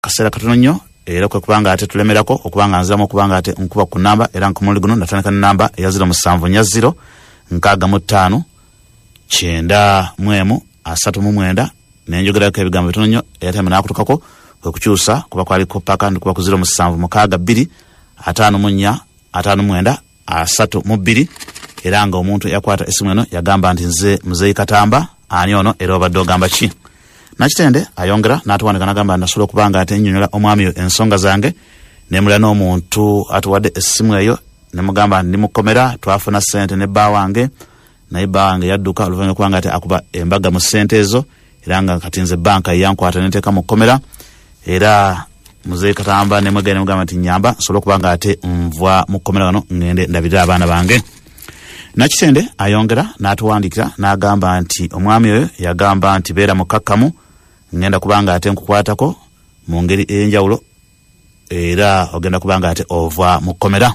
Kaseera katono nnyo era kwe kubanga ate tulemerako okuba nga nziramu okuba nga ate nkuba ku namba, era ku mulundi guno natandika ne namba eya 0740 65 91 39, nenjogerako ebigambo bitono nnyo airtime n'akutukako, kwe kukyusa kuba kwaliko paka ndikuba ku 0762 54 59 32, era nga omuntu eyakwata essimu eno yagamba nti nze Muzeeyi Katamba, ani ono era obadde ogamba ki? Nakitende ayongera n'atuwandika n'agamba nasobola okuba nga ate nnyonnyola omwami oyo ensonga zange, nemulira n'omuntu atuwadde essimu eyo nemugamba nti ndi mukomera, twafuna ssente ne bba wange, naye bba wange yadduka oluvannyuma okuba nga ate akuba embaga mu ssente ezo, era nga kati nze banka yankwata nenteeka mu kkomera. Era Muzeeyi Katamba nemwegere nemugamba nti nyamba nsobole okuba nga ate nva mu kkomera wano ngende ndabirire abaana bange. Nakitende ayongera n'atuwandikira n'agamba nti omwami oyo yagamba nti beera mukkakkamu, ngenda kubanga ate nkukwatako mu ngeri ey'enjawulo era ogenda kubanga ate ova mu kkomera.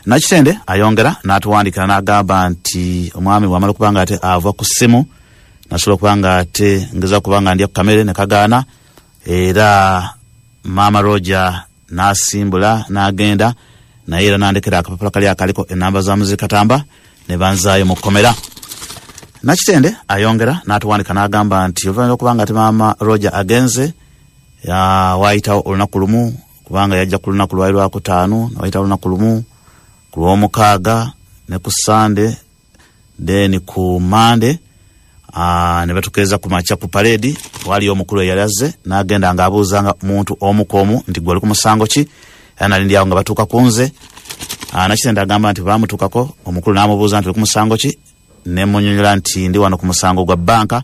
Nakitende ayongera n'atuwandikira n'agamba nti omwami bw'amala okuba nga ate ava ku ssimu, nasobola okuba nga ate ngeza kuba nga ndya ku kamere ne kagaana, era Maama Roger n'asimbula n'agenda, naye era n'andekera akapapula kali akaliko enamba za Muzeeyi Katamba ne banzaayo mu kkomera. Nakitende ayongera n'atuwandika n'agamba nti oluvannyuma lw'okuba nga ate Maama Roger agenze, waayitawo olunaku lumu, kubanga yajja ku lunaku lwali lwakutaano, wayitawo olunaku lumu ku lw'omukaaga ne ku Sande, then ku Mande ne batukeeza ku makya ku parade. Waliyo omukulu eyali azze n'agenda ng'abuuzanga muntu omu ku omu nti gwe oli ku musango ki, era nali ndi awo nga batuuka ku nze. Nakitende agamba nti baamutuukako omukulu n'amubuuza nti oli ku musango ki, ne munyonyola nti ndi wano ku musango gwa banka.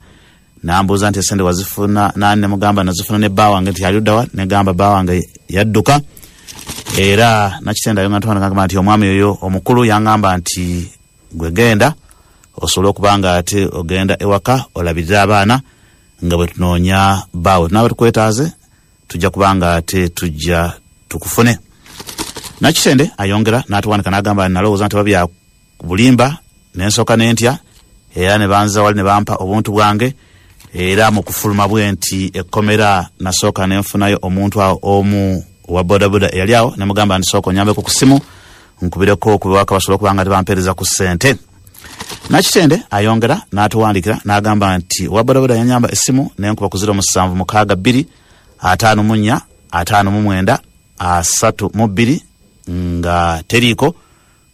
N'ambuuza nti esente wazifuna nani, ne mugamba nazifuna ne bba wange, nti ali ludda wa, ne gamba bba wange yadduka. Era Nakitende ayongera n'agamba nti omwami oyo omukulu yangamba nti gwe genda osobole okuba nga ate ogenda ewaka olabirire abaana nga bwe tunoonya bbaawe, tunaaba tukwetaaze tujja kuba nga ate tujja tukufune. Nakitende ayongera n'atuwandika n'agamba nalowooza nti oba bya bulimba, nensooka nentya, era ne banza wali ne bampa obuntu bwange. Era mu kufuluma bwe nti ekkomera nasooka nenfunayo omuntu awo omu owa bodaboda eyali awo, ne mugamba nti sooka onyambeko ku ssimu nkubireko ku bewaka basobole okuba nga tebampeereza ku ssente. Nakitende ayongera n'atuwandikira n'agamba nti owa bodaboda yanyamba essimu nenkuba ku 0762 54 59 32 nga teriiko,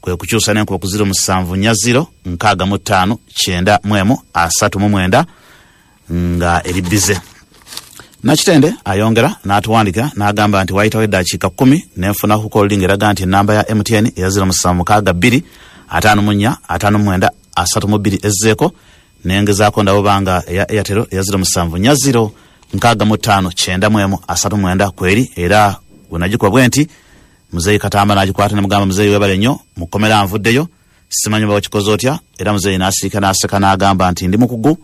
kwe kukyusa nenkuba ku 0740 65 91 39 nga eri bize. Nakitende ayongera n'atuwandikira n'agamba nti wayitawo eddakiika 10 nenfuna ku calling eraga nti enamba ya MTN eya 0762 54 59 32 ezzeeko, nengezaako ndaba obanga eya Airtel eya 0740 65 91 39 kweri, era bwe nagikuba bwe nti Muzeeyi Katamba n'agikwata ne mugamba Muzeeyi weebale nnyo, mu kkomera nvuddeyo, simanyi oba wakikoze otya. Era Muzeeyi n'asirika n'aseka n'agamba nti ndi mukugu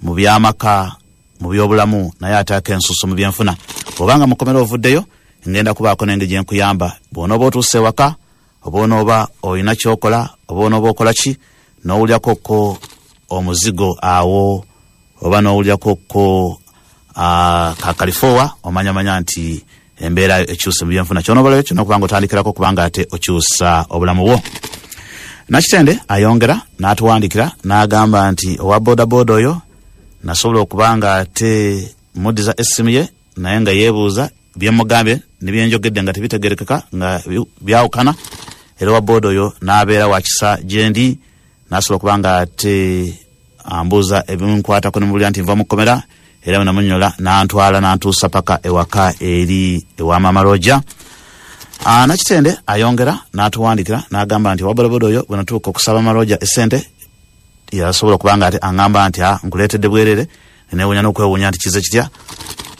mu by'amaka, mu by'obulamu, naye ate ak'ensusu mu byenfuna. Bw'obanga mu kkomera ovuddeyo, ngenda kubaako n'engeri gye nkuyamba. Bw'onooba otuuse ewaka, oba onooba olina ky'okola, oba onooba okola ki, n'owulirako ko omuzigo awo, oba n'owulirako ko ka kalifoowa, omanyamanya nti embeera ekyuse mu byenfuna. Ky'onoobalayo kyonna okubanga otandikirako kubanga ate okyusa obulamu bwo. Nakitende ayongera n'atuwandikira n'agamba nti owa bodaboda oyo nasobola okuba nga ate muddiza essimu ye, naye nga yeebuuza bye mugambye ne bye njogedde nga tebitegerekeka, nga byawukana. Era owa boda oyo n'abeera wa kisa gye ndi, n'asobola okuba nga ate ambuuza ebinkwatako ne mubulira nti nva mu kkomera, era bwe namunyola n'antwala n'antuusa paka ewaka eri ewa Maama Roger. Nakitende ayongera n'atuwandikira n'agamba nti owa bodaboda oyo bwe natuuka okusaba Maama Roger essente, yasobola okuba nga ate aŋŋamba nti nkuleetedde bwerere. Neewuunya n'okwewuunya nti kize kitya,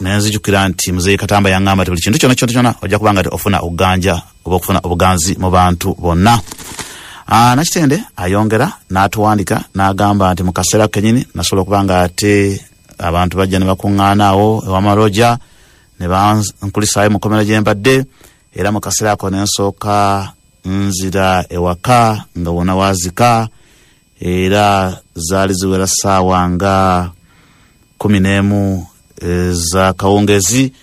nenzijukira nti Muzeeyi Katamba yaŋŋamba nti buli kintu kyonna kyonna kyonna ojja kuba nga ate ofuna okuganja oba okufuna obuganzi mu bantu bonna. Nakitende ayongera n'atuwandika n'agamba nti mu kaseera kennyini nasobola okuba nga ate abantu bajja ne bakuŋŋaana awo ewa Maama Roger ne bankulisaayo mu kkomera gye mbadde, era mu kaseera ako ne nsooka nzira ewaka nga wonna waazika, era zaali ziwera ssaawa nga 11 ez'akawungeezi.